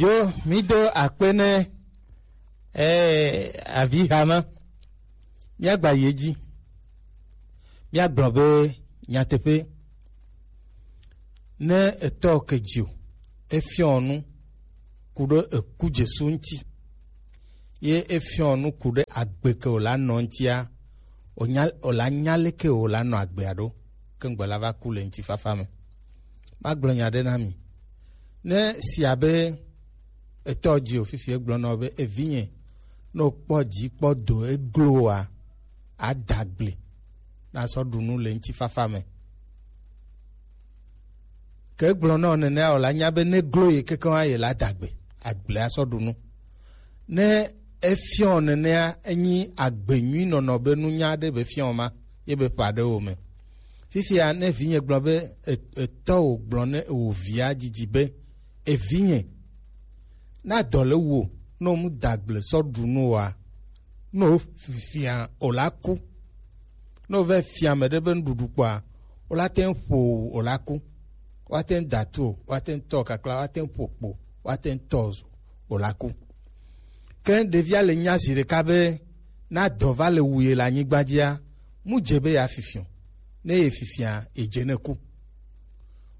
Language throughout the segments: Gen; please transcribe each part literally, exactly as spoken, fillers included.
Yo, mi do akpe ne eh, avi hama. Míagba yi edzi. Míagblɔ be nyateƒe, ne etɔ ke dzi o, efiɔ nu ku ɖe eku Jesu ŋuti, ye efiɔ nu ku ɖe agbe ke wòla nɔ ŋutia, wònya, wòla nya leke wòla nɔ agbea ɖo, ke ŋgbe la va ku le ŋutifafa me. Magblɔ nya ɖe na mi. Ne sia be etɔ dzi o fifi egblɔ nɔ be, evinye, ne wòkpɔ dzi kpɔ do eglo oa, ada gble nasɔ ɖu nu le ŋutifafa me. Ke egblɔ nɔ nenea o la nya be ne glo ye kekeŋ ye la da gbe, agble asɔ ɖu nu. Ne efiɔ nenea, enyi agbe nyui nɔnɔ be nunya ɖe be fiɔ ma ye be ƒa ɖe wo me. Fifia ne vinye gblɔ be e- etɔ wo gblɔ ne wo via dzidzi be, evinye, na dɔ le wo, ne wo mu da gble sɔ ɖu nu wa, ne wo fifia o la ku. Ne wova fia ame ɖe be nuɖuɖu kpɔa, wola te ŋu ƒo o wòla ku. Woate ŋu da tu o, woate ŋu tɔ kakla, woate ŋu ƒo kpo, woate ŋu tɔ o wòla ku. Ke ɖevia le nya zi ɖeka be, na dɔ va le wu ye le anyigba dzia, mu dze be ya fifi o. Ne ye fifia, ye dze ne ku.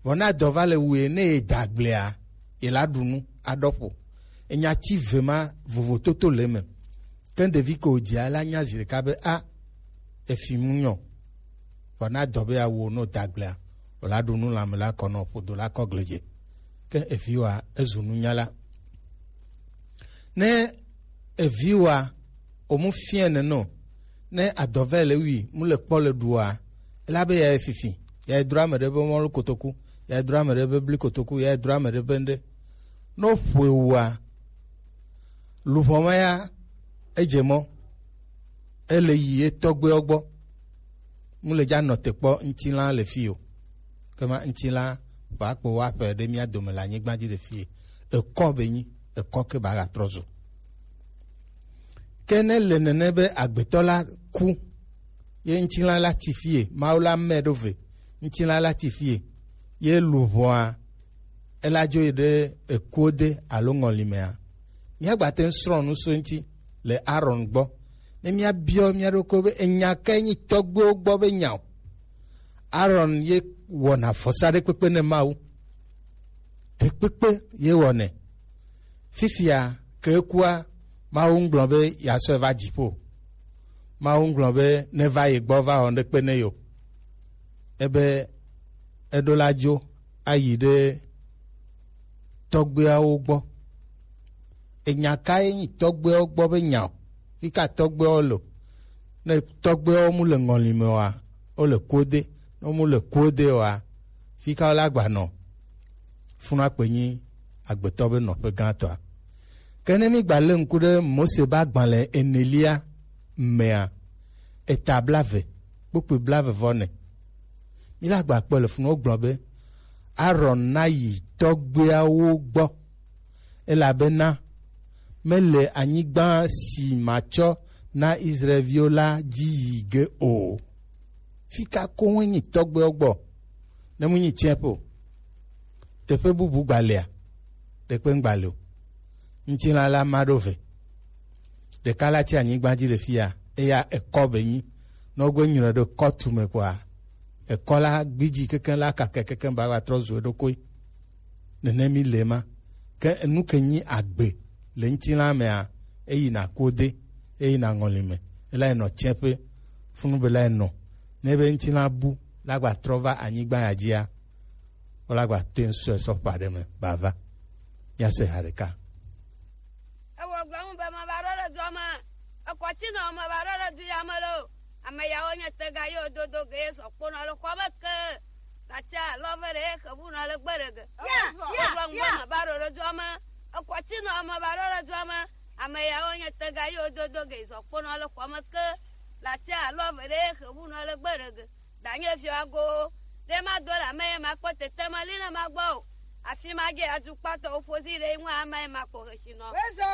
Vɔ na dɔ va le wu ye, ne ye da gblea, ye la ɖu nu aɖɔ ƒo. Enya ti ve ma vovototo le eme. Ke ɖevi ke wòdzia la nya zi ɖeka be, a, efi mu nyɔ. Vɔ na dɔ be awu no dagblea, o la ɖu nu lãme la kɔ nɔ ƒodo la kɔ gledze. Ke evi wa ezu nunyala. Ne evi wa o mu fiɛ ne no, ne adɔvɛ le wi mu le kpɔ le ɖua, ela be ya fifi, ya dro ame ɖe be mɔlu kotoku, ya dro ame ɖe be bli kotoku, ya dro ame ɖe be ŋɖe. No ƒoe wua, luʋɔ ma ya edze mɔ, ele yi ye tɔgbuiwo gbɔ. Mu le dza nɔ te kpɔ ŋutilã le fi o. Ke ma ŋutilã va kpo wa ƒe ɖe mía dome le anyigba dzi le fi. Ekɔ be nyi, ekɔ ke ba ga trɔ zu. Ke ne le nene be agbetɔ la ku, ye ŋutilã la ti fie, Mawu la mɛ ɖo ve, ŋutilã la ti fie, ye luʋɔa ela dzo yi ɖe ekuode alo ŋɔli mea, míagba te ŋu srɔ̃ nu so eŋuti le Aron gbɔ. Ne míabiɔ mía ɖokui be enya kae nyi tɔgbuiwo gbɔ be nya o. Aron ye wɔna vɔsa ɖe kpekpe ne Mawu. Ɖe kpekpe ye wɔnɛ. Fifia ke ekua, Mawu ŋgblɔ be yeasɔe va dziƒo. Mawu ŋgblɔ be neva ye gbɔ va wɔ ŋɖekpe ne yo. Ebe eɖo la dzo ayi ɖe tɔgbuiawo gbɔ. Enya kae nyi tɔgbuiawo gbɔ be nya o? Fika tɔgbuiawo le o? Ne tɔgbuiawo mu le ŋɔli me oa, wo le kuode. Ne wo mu le kuode oa, fika wo la gba nɔ? Funua kpe nyi agbetɔ be nɔƒe gãtɔa. Ke ne mi gba le ŋku ɖe Mose be agbalẽ enelia mea, eta blave, kpukpui blave vɔ ne. Mi la gba kpɔ le funu wogblɔ be, Aron na yi tɔgbuiawo gbɔ, elabena mele anyigba si matsɔ na Israelviwo la dzi yi ge o. Fika koŋ nyi tɔgbuiawo gbɔ? Ne mu nyi tsɛƒe o. Teƒe bubu gbalea? Ɖekpe ŋgba le o. Ŋutilã la ma ɖo ve. Ɖeka la tsi anyigba dzi le fia, eya ekɔ be nyi. Ne wogbe nyuie ɖe kɔtu me kɔa, ekɔ la gbidzi kekeŋ la kake kekeŋ ba va trɔ zu eɖokui. Nene mi le ma. Ke enu ke nyi agbe le ŋutilã mea, eyina kode, eyina ŋɔli me, ela yi nɔ tsɛƒe, funu be la yi nɔ. Ne be ŋutilã bu la gba trɔ va anyigba ya dzia, wo la gba te ŋu sɔe sɔ ƒe aɖe me ba va. Míase ha ɖeka. Ewɔ gblɔ ŋu be meva ɖo ɖe dua me. Ekɔ tsi nɔ meva ɖo ɖe du ya me lo. Ame yawo nye tega yewo dodo ge ye sɔ kponɔ le xɔa me ke. Gati alɔ ve ɖe ye xevu nɔ le gbe ɖe ge. Ya, ya, wogblɔ ŋu be meva ɖo ɖe dua me. Ekɔ tsi nɔ meva ɖo ɖe dua me. Ame yawo nye tega yewo dodo ge ye sɔ kponɔ le xɔa me ke. Gati alɔ ve ɖe ye xevu nɔ le gbe ɖe ge. Danye fiɔ ago ɖe ma do le ame ye ma kpɔ tete ma li ne ma gbɔ o. Afi ma ge adzukpatɔwo ƒo zi ɖe ŋu ame ye ma kpɔ hesi nɔ.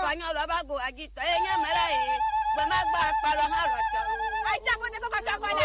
Fanyɔ lɔ ba go agi tɔ ye nye me la ye. Gbe ma gba akpa lɔ ma lɔ tɔ o. Aitsa ko ne ko ma tɔ ko la.